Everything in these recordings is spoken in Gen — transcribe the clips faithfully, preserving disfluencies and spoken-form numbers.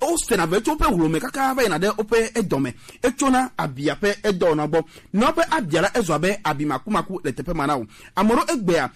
wosena vɛ tso woƒe hlome kaka va yina ɖe woƒe edɔ me. Etsona abia ƒe edɔwɔna gbɔ. Ne woƒe abia la, ezɔ abe abi makumaku le teƒe ma na wò. Ame ɖewo egbea,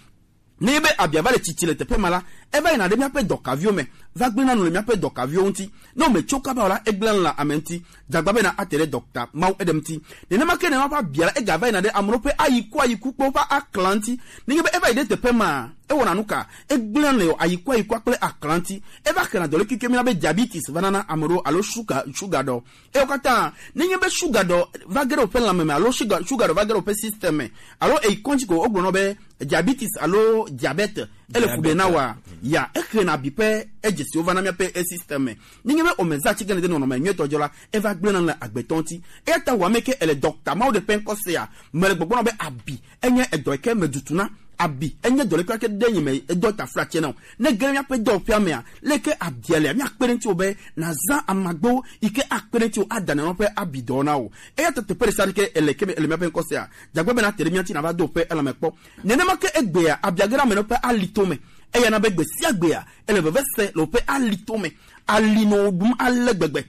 ne be abia va le tsitsi le teƒe ma la, eva yina ɖe míaƒe dɔkaviwo me, va gblẽna nu le míaƒe dɔkaviwo ŋuti. Ne wòmetso kaba o la, egblẽna nu le ame ŋuti. Dzagba bena ate ɖe dɔkta Mawu eɖe ŋuti. Nenema ke nenema ƒe abia la, egava yina ɖe ame ɖewo ƒe ayiku ayiku kple woƒe aklã ŋuti. Nenye be eva yi ɖe teƒe ma, ewɔna nu ka? Egblẽna le ayikua ayikua kple aklã ŋuti. Eva xena dɔlékeke mína be diabetes va nana ame ɖewo alo suga suga ɖɔ. Ewo katã, nenye be suga ɖɔ va ge ɖe woƒe lãme me alo suga suga ɖɔ va ge ɖe woƒe système me alo eyi kɔdzi ko wogblɔ nɔ be diabetes alo diabète, ele fu ɖe na wa. Ya, exena abi ƒe edzesiwo va na míaƒe e système me. Nenye be womezã atike ne de nɔnɔme nyuitɔ dzi o la, eva gblẽna le agbetɔ ŋuti. Eya ta wò ame ke ele dɔkta Mawu ɖe ƒe ŋkɔ sea, mele gbɔgblɔ be abi enye edɔ yi ke medutu na. Abi enye dɔ ɖeka ke ɖe nye me edɔ ta fla tse na o. Ne ge ɖe míaƒe dɔwɔƒea mea, leke abia lea, míakpe ɖe ŋutiwò be nàzã amagbewo yi ke akpe ɖe ŋutiwò ada nenɔ ƒe abidɔ na o. Eya ta teƒe ɖe sia ɖe ke ele ke ele míaƒe ŋkɔ sea, dzagbe bena te ɖe mía ŋuti nàva do ƒe elãme kpɔ. Nenema ke egbea, abia ge ɖe ame ɖewo ƒe alito me. Eya na be gbe sia gbea, ele veve se le woƒe alito me. Ali nɔ ɖum ale gbegbe.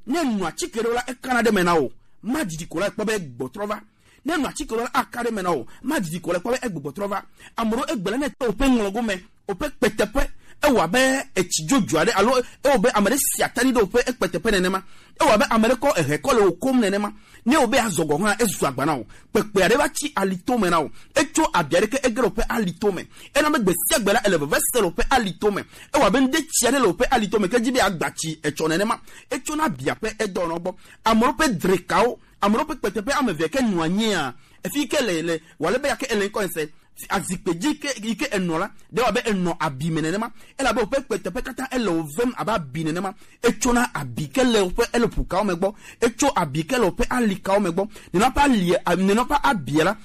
Ne nɔ atike ɖewo la, ekana ɖe me na o. Madidi ko la, ekpɔ be gbɔtrɔ va. Ne nɔ atike ɖewo la, aka ɖe me na o. Madidi ko la, ekpɔ be egbe gbɔtrɔ va. Ame ɖewo egbe la, ne te woƒe ŋlɔgo me, woƒe kpeteƒe, ewɔ abe etsi dzodzo aɖe, alo ewɔ be ame ɖe si atani ɖe woƒe ekpeteƒe nenema. Ewɔ abe ame ɖe kɔ ehe kɔ le wo kom nenema. Ne wo be azɔ gɔ hã, ezu agba na o. Kpekpe aɖe va tsi alito me na o. Etso abi aɖe ke ege ɖe woƒe alito me. Ena be gbe sia gbe la, ele veve se le woƒe alito me. Ewɔ abe ŋde tsi aɖe le woƒe alito me, ke dzi be agba tsi etsɔ nenema. Etso na abia ƒe edɔwɔnɔ gbɔ. Ame ɖewo ƒe drekawo, ame ɖewo ƒe kpeteƒe ame eve ke nɔ anyia, efi ke le, le, wale be yake ele ŋkɔ ese, azikpe dzi ke, yi ke enɔ la, ɖe wa be enɔ abi me nenema. Elabe woƒe kpeteƒe katã ele wo vem abe abi nenema. Etsona abi ke le woƒe, ele ƒukawo me gbɔ. Etso abi ke le woƒe alikawo me gbɔ. Nenɔ ƒe ali, nenɔ ƒe abia la,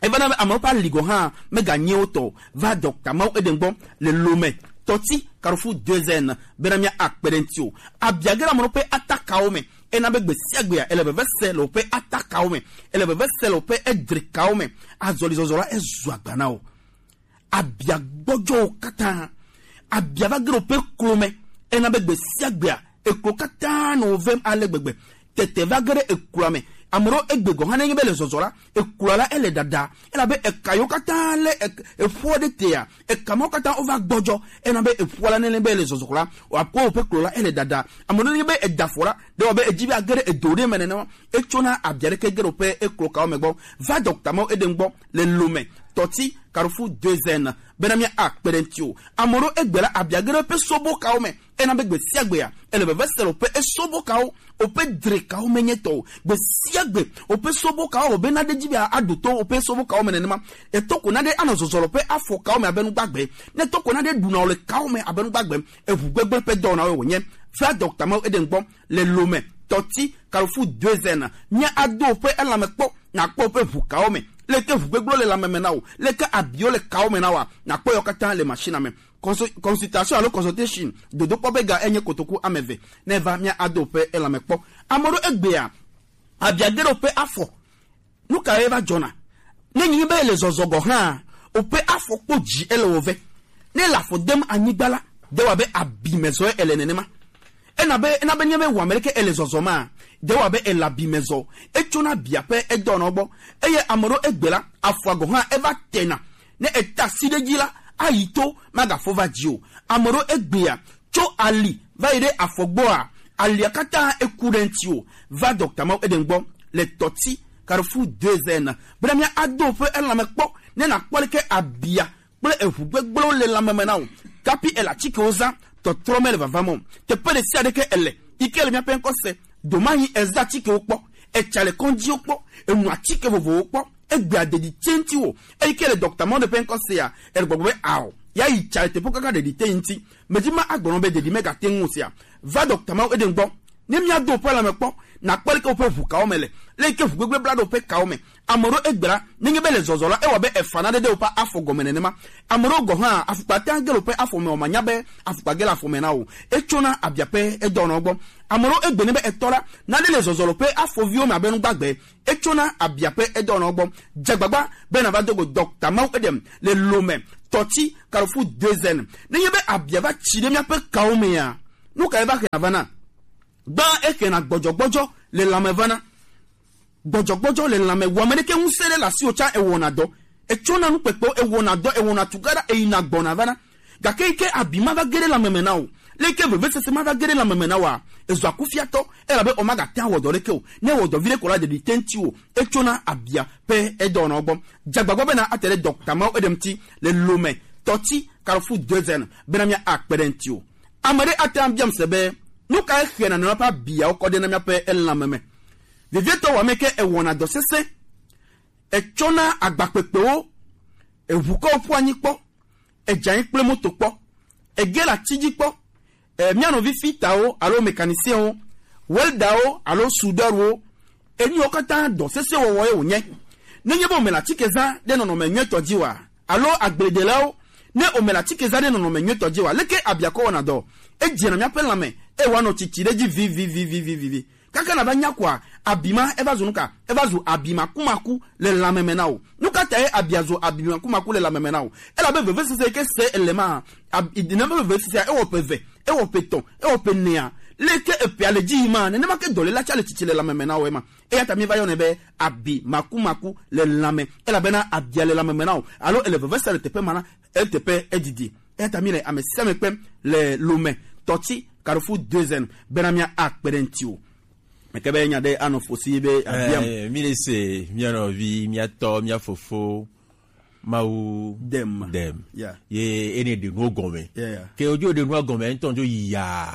eva na be amewo ƒe ali gɔ̃ hã meganye wo tɔ o. Va dɔkta Mawu Eden gbɔ le Lome, Tɔti, Carrefour deux N, bena mía akpe ɖe ŋutiwò. Abia ge ɖe ame ɖewo ƒe atakawo me. Ena be gbe sia gbea, ele veve se le woƒe atakawo me. Ele veve se le woƒe edrekawo me. Azɔlizɔzɔ la, ezu agba na wo. Abia gbɔdzɔ wo katã. Abia va ge ɖe woƒe klo me. Ena be gbe sia gbea, eklo katã nɔ wo vem ale gbegbe. Tete va ge ɖe ekloa me. Ame ɖewo egbe gɔ̃ hã nenye be le zɔzɔ la, ekloa la ele ɖaɖa. Elabe eka yiwo katã le ek-, eƒoa ɖe tea, eka mawo katã wova gbɔdzɔ. Ena be eƒoa la nenye be le zɔzɔ la, wòakpɔ woƒe klo la ele ɖaɖa. Ame ɖewo nenye be eda afɔ la, ɖe wɔ be edzi be age ɖe edo ɖe me nenema. Etsona abia ɖeke ge ɖe woƒe eklo kawo me gbɔ. Va dɔkta Mawu Eden gbɔ le Lome, Tɔti, Carrefour deux N, bena mía akpe ɖe ŋutiwò. Ame ɖewo egbe la, abia ge ɖe woƒe sobo kawo me. Ena be gbe sia gbea, ele veve se le woƒe esobo kawo, woƒe dre kawo menye tɔ o. Gbe sia gbe, woƒe sobo kawo, wobe naɖe dzi be aɖo to woƒe sobo kawo me nenema. Eto ko naɖe anɔ zɔzɔ le woƒe afɔ kawo me abe nu gbagbe. Ne to ko naɖe ɖuna wo le kawo me abe nu gbagbe. Eʋu gbegblẽ ƒe dɔwɔnawoe wònye. Va dɔkta Mawu Eden gbɔ le Lome, Tɔti, Carrefour deux N. Mía ado woƒe elãme kpɔ, nàkpɔ woƒe ʋu kawo me. Leke ʋu gbegblẽwo le lãme me na wò? Leke abiwo le kawo me na wòa? Nàkpɔ yewo katã le machine me. Consu-, consultation alo consultation, dodokpɔ be ga enye kotoku ame eve. Ne va mía ado ƒe elãme kpɔ. Ame ɖewo egbea, abia ge ɖe woƒe afɔ. Nu kae va dzɔna? Ne nyi be ele zɔzɔ gɔ̃ hã, woƒe afɔ kpɔ dzi ele wo ve. Ne ele afɔ dem anyigba la, de wa be abi me zɔe ele nenema. Ena be, ena be nye be wame ɖeke ele zɔzɔ ma, de wa be ele abi me zɔ. Etsona abia ƒe edɔnɔ gbɔ. Eye ame ɖewo egbe la, afɔa gɔ̃ hã eva tena. Ne eta asi ɖe edzi la, ayi to, magafɔ va dzi o. Ame ɖewo egbea, tso ali va yi ɖe afɔ gbɔa, alia katã eku ɖe ŋutiwò. Va dɔkta Mawu Eden gbɔ le Tɔti, Carrefour deux N, bena mía ado ƒe elãme kpɔ, ne nàkpɔ leke abia kple eʋu gbegblẽwo le lãme me na wò. Kapi ele atikewo zã, tɔtrɔ mele vava me o. Teƒe ɖe sia ɖe ke ele, yi ke le míaƒe ŋkɔ se, domahi ezã atikewo kpɔ, etsa le kɔdziwo kpɔ, enu atike vovovowo kpɔ, egbea ɖeɖi te ŋutiwò. Eyi ke le dɔkta Mawu Eden ƒe ŋkɔ sea, ele gbɔgblɔ be ao, ya yi tsa le teƒewo kaka ɖeɖi te ŋuti. Medzi ma agblɔ nɔ be ɖeɖi megate ŋu o sea. Va dɔkta Mawu Eden gbɔ. Ne míado woƒe lãme kpɔ, nàkpɔ leke woƒe ʋu kawo me le, leke ʋu gbegblẽ bla ɖe woƒe kawo me. Ame ɖewo egbe la, nenye be le zɔzɔ la, ewɔ be efa naɖe ɖe woƒe afɔ gɔme nenema. Ame ɖewo gɔ̃ hã, afɔkpa tea ge le woƒe afɔ me o, manya be afɔkpa ge le afɔ me na wò. Etsona abia ƒe edɔnɔ gbɔ. Ame ɖewo egbe ne be etɔ la, naɖe le zɔzɔ le woƒe afɔviwo me abe nu gbagbe. Etsona abia ƒe edɔnɔ gbɔ. Dze agbagba be nàva do go dɔkta Mawu Eden le Lome, Tɔti, Carrefour deux N. Nenye be abia va tsi ɖe míaƒe kawo mea, Nu ka eva xena vana? Gba exena gbɔdzɔgbɔdzɔ le lanme vana. Gbɔdzɔgbɔdzɔ le lanme, wɔ ame ɖeke ŋusẽ ɖe le asiwò tsã ewɔna dɔ. Etsɔna nukpekpewo, ewɔna dɔ, ewɔna tugaɖa, eyina gbɔna vana. Gake yi ke abi ma va ge ɖe lanme me na wò, le yi ke vevesese ma va ge ɖe lanme me na wòa, ezɔa kufiatɔ, elabe o magate ŋu awɔ dɔ ɖeke o. Ne ewɔ dɔ viɖe ko la, ɖeɖi te ŋutiwò, etsɔna abia pɛ edɔwɔnawo gbɔ. Dze agbagba bena ate ɖe dɔkta mawo eɖe ŋuti le Lomé, Tɔti, Carrefour deux N, bena mía akpe ɖe ŋutiwò. Ame ɖe ate ŋu abia ŋusẽ be, nu kae xena nɔnɔ ƒe abiawo kɔ ɖe na míaƒe lãme me? Vevietɔ wɔ ame ke ewɔna dɔ sesẽ, etsɔna agbakpekpewo, eʋu kɔ ƒu anyi kpɔ, edze anyi kple moto kpɔ, ege le ati dzi kpɔ, e, mía nɔvi fitawo alo mécanicienwo, weldawo alo soudeurs-wo, enuwo katã dɔ sesẽ wɔwɔ ye wònye. Nenye be wòme le atike zã ɖe nɔnɔme nyuitɔ dzi oa, alo agbledelawo, ne wòme le atike zã ɖe nɔnɔme nyuitɔ dzi oa, leke abiakɔ wɔna dɔ? Edzena míaƒe lãme, eye wòanɔ tsitsi ɖe edzi vivivivivivi. Kaka nàva nya koa, abi ma eva zu nu ka? Eva zu abi makumaku le lãme me na wò. Nu ka tae abia zu abi makumaku le lãme me na wò? Elabe vevesese yi ke se ele ma, ab-, i-, nenema vevesesea, ewɔ ƒe eve, ewɔ ƒe etɔ̃, ewɔ ƒe enea, leke eƒea le dzi yim ma, nenema ke dɔléla tsã le tsitsi le lãme me na wò ema. Eya ta míva yɔnɛ be abi makumaku le lãme, elabena abia le lãme me na wò, alo ele vevesese le teƒe ma na, eteƒe edidi. Eya ta míle ame sia ame kpem le Lomé, Tɔti, Carrefour deux N, bena mía akpe ɖe ŋutiwò. Meke be nya ɖe anɔ fosi be abiam. Eh, mi le se, mía nɔvi, mía tɔ, mía fofo, Mawu Dem. Dem. Yeah. Ye ene ɖe nuwo gɔme. Yeah, yeah. Ke ojo ɖe nuwo gɔme, ŋutɔ dzo yi ya.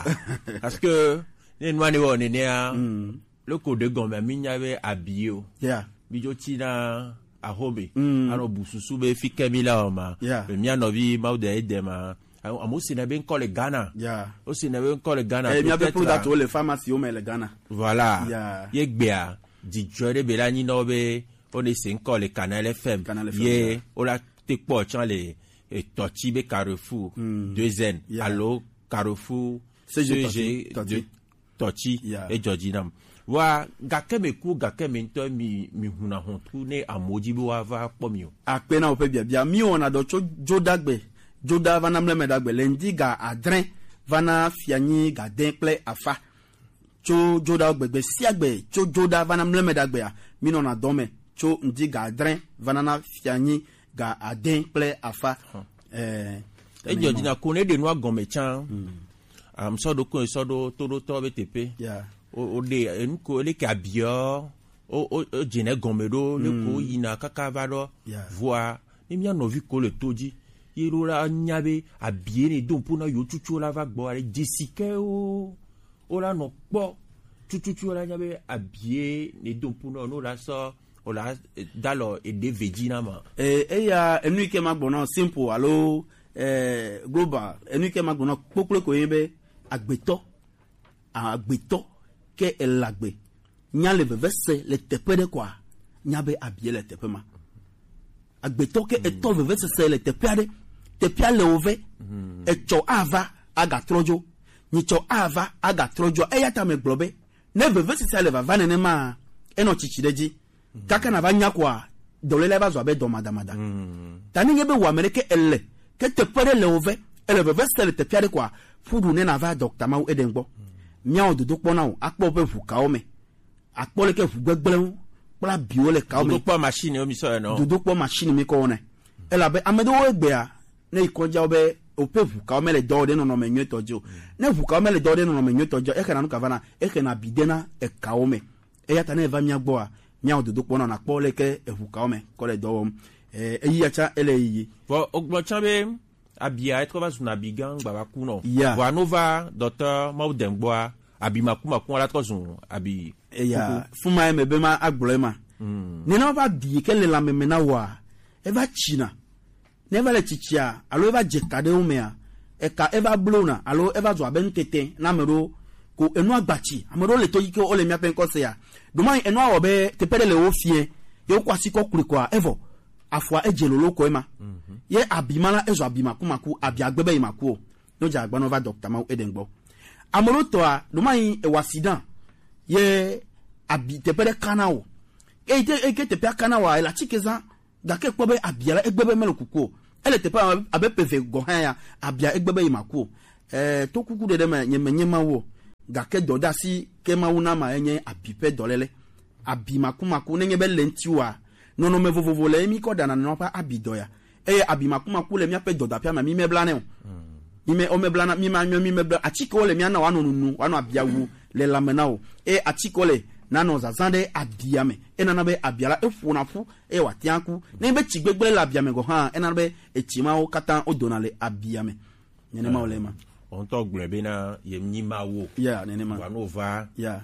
Parce que ne nua ne wɔ nenea, mm, loko ɖe gɔme, mi nya be abi o. Yeah. Mi dzo tsi na axome. Mm. Anɔ bu susu be fi ke mi la o ma. Yeah. Be mía nɔvi Mawu de ede ma. Amewo sena be ŋkɔ le Ghana. Yeah. Wosena be ŋkɔ le Ghana. Eh, míaƒe peut-être product wo le pharmacy wo me le Ghana. Voilà. Yeah. Ye gbea, dzidzɔ ɖe be la nyi na wo be wone se ŋkɔ le Canal F M. Canal F M, ye yeah. Wola te kpɔ tsã le, eh, Tɔti be Carrefour, mm, deux N, yeah, alo Carrefour C G C G Tɔti, Tɔti. Tɔti, yeah, edzɔ dzi nam. Wa gake me ku, gake me ŋutɔ mi, mi huna hɔntu ne amewo dzi be woava kpɔ mi o. Akpe na woƒe biabia. Mi wɔna dɔ tso Dzodagbe, Dzoda va na Mlemedagbe le ŋdi ga adre va na Fianyi ga de kple afa. Tso Dzoda gbegbe sia gbe, tso Dzoda va na Mlemedagbea, mi nɔna dɔ me tso ŋdi ga adre va na, na Fianyi ga ade kple afa. Hɔn. Eh, edzɔ dzi na ko ne ɖe nua gɔme tsã. Hmm. Am sɔ ɖo ko sɔ ɖo toɖotɔ be teƒe. Yeah. O, o ɖe enu ko ele ke abiɔ. O, o, o dzene gɔme ɖo, ne ko, mm, yina kaka va ɖo. Yeah. Vɔa, ne mía nɔvi ko le to dzi, ye ɖo la nya be abie ne do ŋpo na yo tsutsu la va gbɔ ale dzesi ke o, o la nɔ kpɔ. Tututu la nya be abie ne do ŋpo na, no la sɔ, o la, eh, dalɔ eɖe ve dzi na ma. Eh, eya, enu yi ke ma gbɔ na simple alo, eh, global, enu yi ke ma gbɔ na kpokplo ko ye be agbetɔ, agbetɔ ke ele agbe, nya le veve se le teƒe ɖe koa, nya be abie le teƒe ma. Agbetɔ ke etɔ vevesese le teƒe aɖe, teƒea le wo ve, etsɔ ava agatrɔ dzo, nyitsɔ ava agatrɔ dzo. Eya ta megblɔ be, ne vevesesea le vava nenema, enɔ tsitsi ɖe dzi. Kaka na va nya koa, dɔléla va zɔ abe dɔ madamada. Ta ne nye be wò ame ɖe ke ele, ke teƒe ɖe le wo ve, ele vevesese le teƒe aɖe koa, ƒu ɖu ne na va dɔkta mawu eɖe gbɔ. Míawɔ dodokpɔ na wò, akpɔ woƒe ʋu kawo me. Akpɔ leke ʋu gbegblẽwo kple abiwo le kawo me. Dodokpɔ machine wo mi sɔ ene. Dodokpɔ machine mi kɔ wɔnɛ. Elabe ame ɖewo egbea, ne yi kɔdzia wo be woƒe ʋu kawo mele dɔ wɔm ɖe nɔnɔme nyuitɔ dzi o. Ne ʋu kawo mele dɔ wɔm ɖe nɔnɔme nyuitɔ dzi o, exena nu ka vana? Exena abi de na ekawo me. Eya ta ne eva mía gbɔa, míawɔ dodokpɔ na wò nakpɔ leke eʋu kawo me kɔ le dɔ wɔm. Eh, eyi ya tsã ele yiyi. Vɔ, wogblɔ tsã be abia etrɔ va zuna abi gã gbava ku nɔ. Ya. Vɔa no va dɔtɔ mawu dem gbɔa, abi makumaku la trɔ zu abi. Eya, kuku. Fuma ye me be ma agblɔ ema. Mm. Nenema va abi ke le lãme me na wòa, eva tsina. Ne eva le tsitsia, alo eva dze ka ɖe wo mea, eka eva blona, alo eva zu abe nutete na ame ɖewo, ko enua gbatsi. Ame ɖewo le to yi ke wole míaƒe ŋkɔ sea. Ɖomai enua wɔ be teƒe ɖe le wo fiẽ, ye wokɔ asi kɔ kplɔe kɔa, evɔ afɔa edze lolo ko ema. Mhm. Ye abi ma la, ezɔ abi makumaku, abi agbe be yi maku o. Ne wodze agba na wò va dɔkta mawu eɖe gbɔ. Ame ɖewo tɔa, ɖomai ewa accident, ye abi teƒe ɖe kana o. Eyi te, eyi ke teƒea kana wòa, ele atike zã, gake kpɔ be abia la, egbe be mele kuku o. Ele teƒe abe, abe ƒe eve gɔ̃ hã ya, abia egbe be yi maku o. Eh, to kuku ɖeɖe me nye menye Mawu o, gake dɔdasi ke Mawu na ma enye abi ƒe dɔléle. Abi makumaku, nenye be le ŋutiwòa, nɔnɔme vovovo le emi kɔ ɖana nɔnɔ ƒe abi dɔ ya. Eye abi makumaku le míaƒe dɔdaƒea me, mi meblanɛ o. Mi me, o meblana, mi ma nyɔ, mi mebla. Atikewo le mía na wòanɔ nunu, wòanɔ abia wu le lãme na wò. Eye atikewo le nanɔ zazã ɖe abia me. Enana be abia la eƒona ƒu eye wòate ŋu aku. Nenye be tsi gbegblẽ le abia me gɔ̃ hã, enana be etsi mawo katã wodona le abia me. Nenema wòle ema. Wo ŋutɔ gblɔe bena yem nyi Mawu o. Ya, nenema. Vɔa ne wova, ya,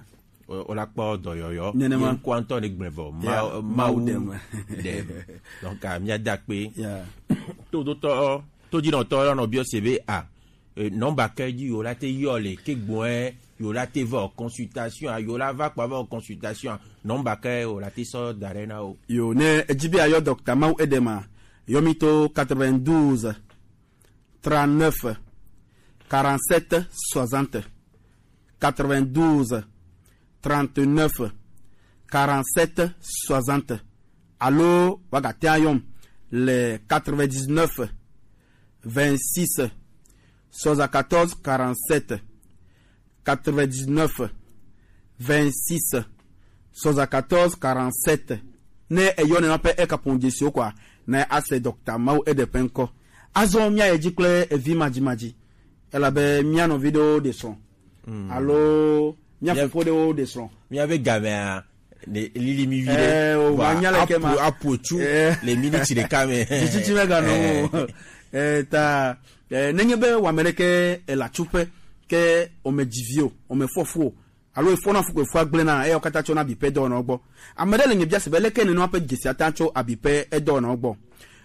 o-, wola kpɔ dɔyɔyɔ. Nenema. Ye ŋkua ŋutɔ ne gblɔe vɔ. Ya, Ma-, Mawu Mawu ɖem. Ɖem. Donc, ah, míada akpe. Ya. Todotɔ, todinɔtɔ la nɔ biɔ se be, ah, eh, nɔmba ke dzi yewo la te yɔ le ke gbɔe, yewo la te va consultation, ah, yewo la va kpa va consultation, ah, nɔmba ke wo la te sɔ da ɖe na wo. Yo, ne edzi be ayɔ Docteur Mawu Edema, yɔ mi to quatre-vingt-douze, trente-neuf, quarante-sept, soixante. Quatre-vingt-douze, trente-neuf, quarante-sept, soixante. Alo wagate ayɔm le quatre-vingt-dix-neuf, vingt-six, soixante-quatorze, quarante-sept. Quatre-vingt-dix-neuf, vingt-six, soixante-quatorze, quarante-sept. Ne eyɔ nenema ƒe ekaƒomɔ dzesiwo koa, na ase Docteur Mawu Eɖe ƒe ŋkɔ. Azɔ míayi edzi kple evi madzimadzi, elabe mía nɔvi ɖewo ɖe srɔ̃. Mm. Alo mía Mía fofo ɖewo ɖe srɔ̃. Míabe gamea, ne lili mi vi ɖe. Eh, o, vɔa, manya leke ma. Apo, apo tsu, eh, le miniti ɖeka me. Dzitsitsi meganɔ o. Eh. Eh, ta, eh, nenye be wame ɖeke ele atsuƒe, ke wome dzi vi o, wome fɔ fu o, alo efɔ na fu ko efua gblẽ na, eyawo katã tsɔna abi ƒe dɔwɔnawo gbɔ. Ame ɖe le nye bia se be leke nenema ƒe dzesi ata tso abi ƒe edɔwɔnawo gbɔ.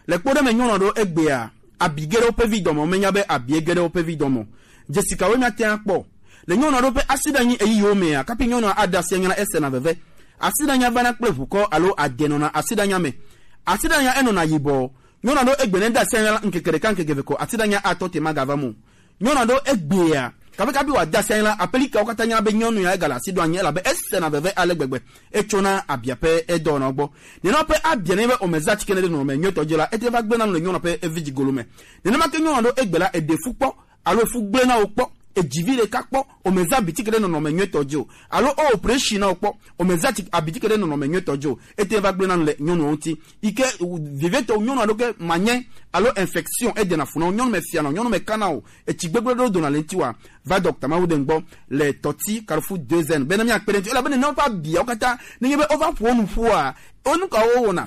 Le kpɔɖeŋu me nyɔnu aɖewo egbea, abi ge ɖe woƒe vi dɔme, womenya be abi ge ɖe woƒe vi dɔme o. Dzesi kawoe míate ŋu akpɔ? Le nyɔnu aɖewo ƒe asiɖanyi ɣeyiɣiwo mea, kapi nyɔnua aɖe asi anya la, esena veve. Asiɖanya vana kple ʋukɔ alo ade nɔna asiɖanya me. Asiɖanya enɔna yibɔ. Nyɔnu aɖewo egbe ne de asi anya la, ŋkeke ɖeka, ŋkeke eve ko asiɖanya atɔ te magava me o. Nyɔnu aɖewo egbea, kaƒekaƒi wòade asi anyi la, aƒelikawo katã nya be nyɔnu ya egale asi ɖo anyi, elabe esena veve ale gbegbe. Etsona abia ƒe edɔwɔnawo gbɔ. Nenema ƒe abia ne be womezã atike ne ɖe nɔnɔme nyuitɔ dzi la, ete va gblẽna nu le nyɔnua ƒe evidzigolo me. Nenema ke nyɔnu aɖewo egbe la, eɖe fu kpɔ, alo efu gblẽ na wo kpɔ, edzi vi ɖeka kpɔ, womezã abitike ɖe nɔnɔme nyuitɔ dzi o, alo o operation na wo kpɔ, womezã atike, abitike ɖe nɔnɔme nyuitɔ dzi o. Ete va gblẽna nu le nyɔnuwo ŋuti. Yi ke, vevitɔ, nyɔnu aɖewo ke manye, alo infection, edena fu na wo, nyɔnu me fiana o, nyɔnu me kana o, etsi gbegblẽ ɖewo dona le ŋutiwòa, va Docteur Mawu Ɖem gbɔ le Tɔti Carrefour deux N. Bena míakpe ɖe ŋuti, elabe nenema ƒe abiawo katã, nenye be wova ƒo wo nu ƒua, wo nu kawo wowɔna?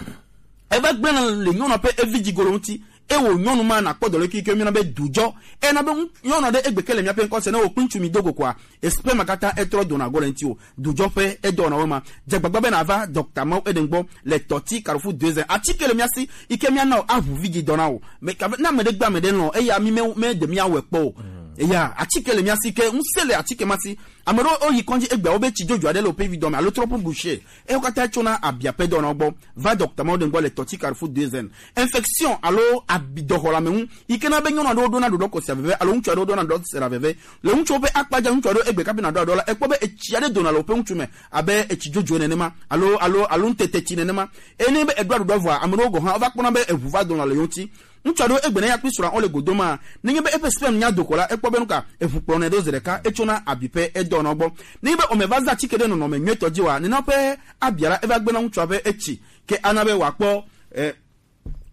Eva gblẽna le nyɔnua ƒe evidzigolo ŋuti. Ewò nyɔnu ma nakpɔ dɔléle kike míyɔna be dujɔ. Ena be ŋu-, nyɔnu aɖe egbe ke le míaƒe ŋkɔ se ne wò kple ŋutsu mi do go koa, esprit ma katã etrɔ dona go le ŋutiwò. Dujɔ ƒe edɔwɔnawo ma. Dze agbagba be nàva Docteur Mawu Eden gbɔ le Tɔti Carrefour deux N. Atike le mía si, yi ke míana wò aʋu vidzidɔ na wò. Me-, ka-, ne ame ɖe gbe ame ɖe lɔ̃, eya mi me, me ɖe míawɔe kpɔ o. Mm. Eya, atike le mía si ke, ŋusẽ le atike ma si. Ame ɖewo woyi kɔdzi egbea, wobe tsi dzodzo aɖe le woƒe vi dɔ me alo trop bouché. Ewo katã tsona abia ƒe dɔwɔnawo gbɔ. Va Docteur Mawu Eden gbɔ le Tɔti Carrefour deux N. Infection alo abi dɔxɔlame ŋu, yi ke na be nyɔnu aɖewo ɖona ɖoɖo kɔ sia veve alo ŋutsu aɖewo ɖona ɖoɖo sia veve. Le ŋutsuwo ƒe akpa dzi, ŋutsu aɖewo egbe kapi naɖo aɖo la, ekpɔ be etsi aɖe dona le woƒe ŋutu me abe etsi dzodzo nenema alo, alo, alo ŋutete tsi nenema. Eye ne be eɖo aɖuɖɔ vɔa, ame ɖewo gɔ̃ hã wova kpɔna be eʋu va dona le yewo ŋuti. Ŋutsu aɖewo egbe ne ya kple srɔ̃a wole godo ma, nenye be eƒe sperme nya do ko la, ekpɔ be nuka eʋu kplɔnɛ ɖo zi ɖeka, etsona abi ƒe edɔwɔnawo gbɔ. Nenye be womeva zã atike ɖe nɔnɔme nyuitɔ dzi oa, nenema ƒe abia la eva gbena ŋutsua ƒe etsi, ke ana be wòakpɔ, eh,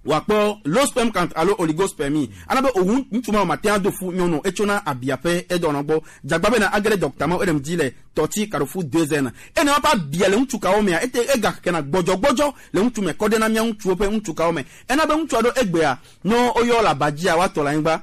wòakpɔ low sperm count alo oligospermie. Ana be owu ŋutsu ma mate ŋu ado fu nyɔnu o, etsona abia ƒe edɔwɔnawo gbɔ. Dze agbagba bena age ɖe Docteur Mawu Eden dzi le Tɔti Carrefour deux N. Eye nenema ƒe abia le ŋutsu kawo mea, ete, egakena gbɔdzɔgbɔdzɔ le ŋutsu me kɔ ɖe na mía ŋutsuwo ƒe ŋutsu kawo me. Ena be ŋutsu aɖewo egbea, ne woyɔ le aba dzia, woatɔ le anyigba.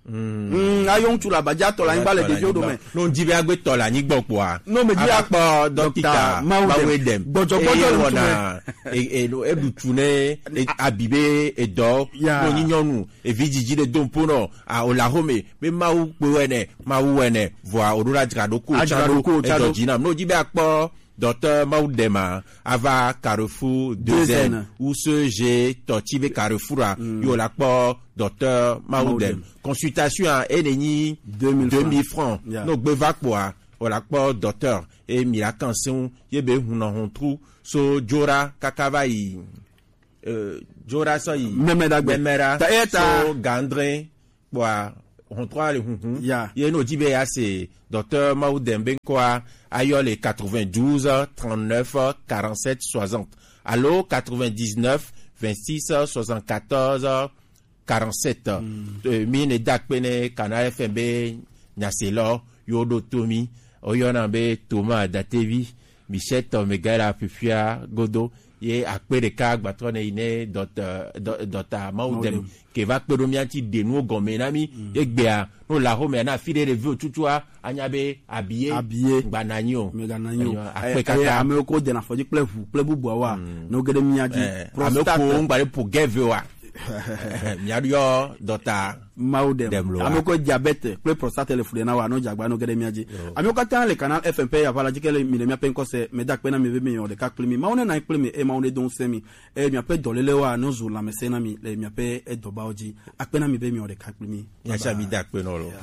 Mm. Mm, ayɔ ŋutsu le aba dzi atɔ le anyigba le ɖeviwo dome. Ne wòdi be agbe tɔ le anyigba kpɔa, ne wòmedi ava kpɔ dɔkita Dɔkita Mawu Mawu Eden. Gbɔdzɔgbɔdzɔ le ŋutsu me. Eye wɔna, e, e, no, eɖu tu ne, e, abi be edɔ. Ya. Ne wònyi nyɔnu, evi dzidzi ɖe do ŋpo nɔ, a, o le axome, be Mawu kpe wɛ nɛ, Mawu wɛ nɛ, vɔa, o ɖo la dzra ɖo ko, adzra ɖo ko, edɔ dzi nam. Ne wòdi be akpɔ Docteur Mawu Eden ma, ava Carrefour deux N, deux N. Ou C G Tɔti be Carrefour a, mm, yo la kpɔ Docteur Mawu Eden. Mawu Eden. Consultation a, ene nyi deux mille francs. Deux mille francs. Yeah. No gbe va kpɔa, o la kpɔ docteur, e mi la kan se ŋu, ye be hun nɔ hun tru, so Dzoɖa kaka va yi, euh, Dzoɖa sɔ yi Mɛmɛɖagbe. Mɛmɛɖa, ta, e ta. So Gandrin, kpɔa, Hɔntɔ le hunhun. Ya. Ye no ji be ya se Docteur Mawu Dembe nkɔa, ayɔ le quatre-vingt-douze, trente-neuf, quarante-sept, soixante. Alo quatre-vingt-dix-neuf, vingt-six, soixante-quatorze, quarante-sept. Mm. Eh, mi ne da kpe ne Canal F M be nyase lɔ, yo do to mi. Oyɔna be Thomas Datevi, Michel tɔ me ga la fifia godo. Ye akpe ɖeka gbatɔ ne yi ne dɔta, dɔ-, dɔta Mawu Mawu Dem. Dem. Ke va kpe ɖo mía ŋuti ɖe nuwo gɔme na mí. Mm. Egbea, no la home na fi ɖe ɖeviwo tutua, anya be abie. Abie. Gba na nyi o. Me ga na nyi o. Eyo, akpe Eh, eh, kaka. Ame ko dena fɔdzi kple ʋu kple bubuawoa, Mm. no ge ɖe mía dzi. Eh, Prostate. Ame ko ŋgba ɖe po gɛve wa. Mía ɖo dɔta. Mawu Dem. Dem lo wa. Ame ko diabète kple prostate le fu ɖe na wa, no dze agba no ge ɖe mía dzi. Yo. Ame katã le Canal F M ƒe aʋala dzi ke le mi le míaƒe ŋkɔ se, meda akpe na mi be mi wɔ ɖeka kpli mi. Mawu ne na kpli mi, eye Mawu ne do ŋusẽ mi. Eye miaƒe dɔlélewoa, no zu lãmesẽ na mi le miaƒe edɔbawo dzi. Akpe na mi be mi wɔ ɖeka kpli mi. Mía tsã mi da akpe nɔ lo. Yeah.